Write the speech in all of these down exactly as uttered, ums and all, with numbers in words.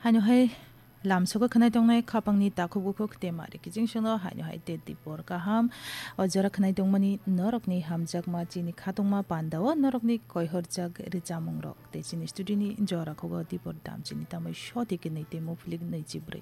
Haino hai lamsogo khwnai tongnai khapangni takhuk bukhuk te mari kiching songno haino hai te dipor kaham. O jora khwnai tongmani norokni hamjakma chini khatungma pandao norokni koihorjak richamungrok te chini studioni jora khugo dipor dam chini tamoi soti kinwi te muphilik nwi chibrwi.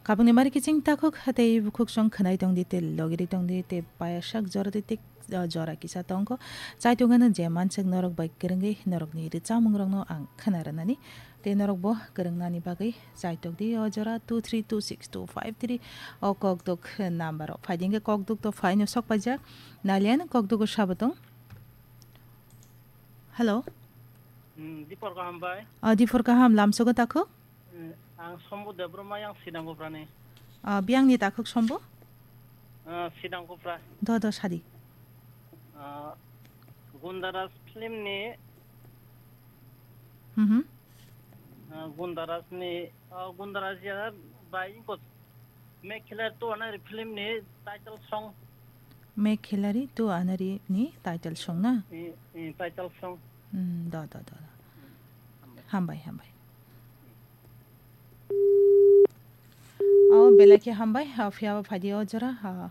Khapangni mari kiching takhuk tei bukhuk song khwnai tongdi te logiri tongdi te payasak jora di te o jora kisa tongkho. Chaitung ano je manswk norok bai kwrwngwi norokni richamungrokno ang khwna rwnani. Tei norok bo kwrwngnani bagwi chaitok di o jora two three two six two five three o kokduk number o. Phaidi hwnkhe kokduk to phaino sok paijak. Nalian kokduk o sabo tong. Hello. Hmm, Dipor kaham bai. Ah, Dipor kaham lamsogo takho? Hmm, ang Sombu Debbarma yang Sidang Gophrani. Ah, biyangni takhuk Sombu? Ah, Sidang Gophrani. Do, do, sadi. Ah, Gundaraj film ni, Mhm. Ah, Gundaraj ni, ah, Gundaraj ya bai ko Mekhela to Anari film ni title song. Mekhela ri to Anari ni title song na? Eh, eh, title song. Hmm, do, do, do, do. Hambai, hambai. O, belai khe hambai, ha, phiya ba phaidi o jora, ha.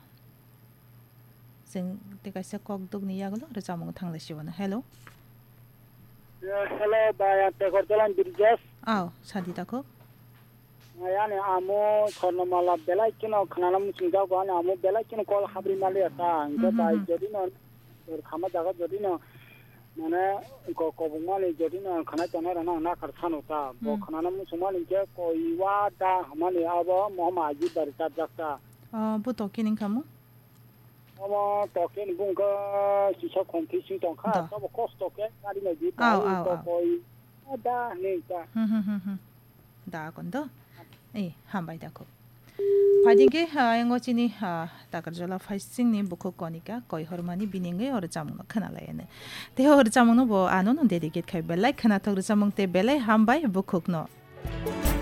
Chwng tei kaisa kokdukni yagulo rwchapmung thanglai sibana. Hello. Ya, hello, bai, ang Tekorjola Birjas. Aw, sadi takhuk. Ani amo Swarnamala belai kheno khwnana muchungjago, ani amo belai kheno kol habri maliya ta. Hwnkhe Mhm, bai mhm. Jodi no, khama jaga jodi no, mane ko-, kobongmani jodi no khwnai tongnai rokno ang nakhar sano ta. Bo Hmm. Khwnana muchungmani hwnkhe koi wa da hwnmani abo mohoma aji bari chapjak ta. Oh, bo to kining khamu? Omo token bungkha kisa khongthi sing tongkha, Da. Tobo kosto khe gari nai di Aw, bai aw, to aw. Koi da hinwi ta. Hmm, hmm, hmm, hmm. Da kon do. Eh, hambai da kho. Phaidi khe, ah, yango chini, ah, Takarjola phaisingni bukhuk Konika koi hormani bini wngwi o rwchapmungno khwnalaiya ne. Tei o rwchapmungno bo ano no dedicate khai belai khwnathok rwchapmung tei belai hambai bukhukno.